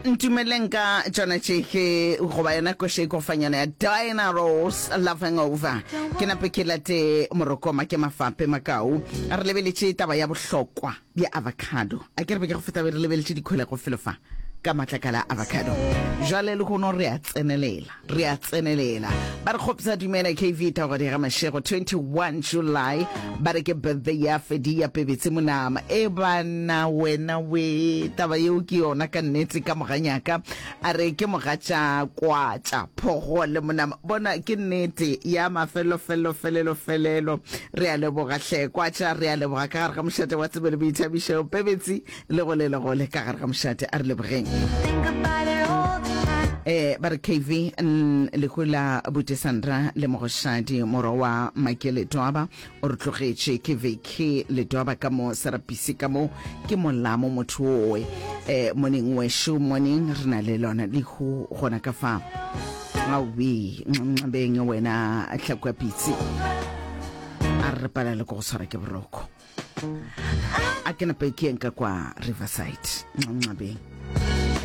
Ntumeleng ka tšona tše ke goba yona koša e kofanyana ya Diana Ross Love Hangover. Ke nape ke late morokoma ke mafape makau. Re lebeletše taba ya bohlokwa bja avocado. A ke re be ke go feta be re lebeletše dikholego felo fa ka matlakala a avocado. Jwale lehono re a tsenelela. Re a tsenelela. Ba re kgopsa dumela KV Thogodi ga Mashego 21 July ba re ke birthday ya Fedi ya Pebetse Monama. E bana wena we taba yeo ke yona ka nnete ka moganyaka a re ke mogatša kwatša phogo le Monama. Bona ke nnete ya mafelo felo felelo felelo. Re a leboga hle kwatša re a leboga ka gare ga mošate wa tsebo le boithabišo Pebetse Le gole le gole ka gare ga mošate a re lebogeng. Eh, ba re KV lehu la Buti Sandra le Mogoshadi morwa wa Make Letwaba o re tlogetše ke VK Letwaba ka mo Serapisi ka mo ke molamo motho owe eh morning wesho morning re na le lona lehu gona ka fa awi nxabeng wena hlakwa pitsi a re palale go tshwara ke boroko. A ke nape ke yeng ka kwa Riverside, nxabeng.